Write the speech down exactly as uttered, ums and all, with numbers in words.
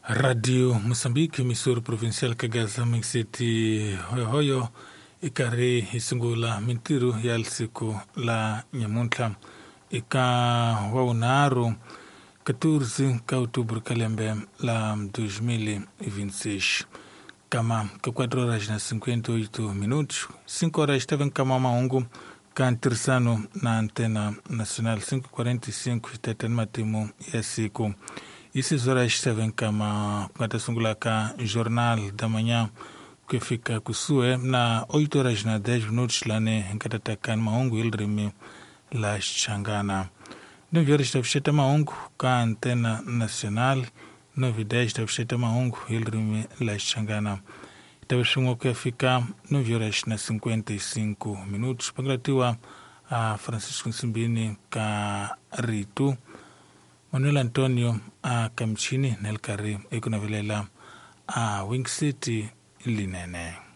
Radio Mozambique, emissora provincial Kagaza Mixeti Hoyohoyo, i karhi hi sungula mintirho ya siku la nyamuntlha eka wa vunharhu quatorze ka outubro ka lembe la dois mil e vinte e seis. Kama ka quatro horas na cinquenta e oito minutos, cinco horas estava em kama mahungu ka ntirhisano na Antena Nacional cinco e quarenta e cinco tete ni matimu ya siku. E seis horas estava em kama ku nga ta sungula ka Jornal da Manhã ku fika kusuhi na oito horas na dez minutos lani hi nga ta taka ni mahungu hi ririmi la Xichangana. Nove horas ta vuxeta mahungu ka Antena Nacional, nove e dez ta vuxeta mahungu hi ririmi la Xichangana. Ta va swin'we ku ya fika nove horas na cinquenta e cinco minutos. Pangulatiwa a Francisco Nsimbini ka Ritu, Manuel Antonio a Kamchini na le karhi eku navelela a Wing City linene.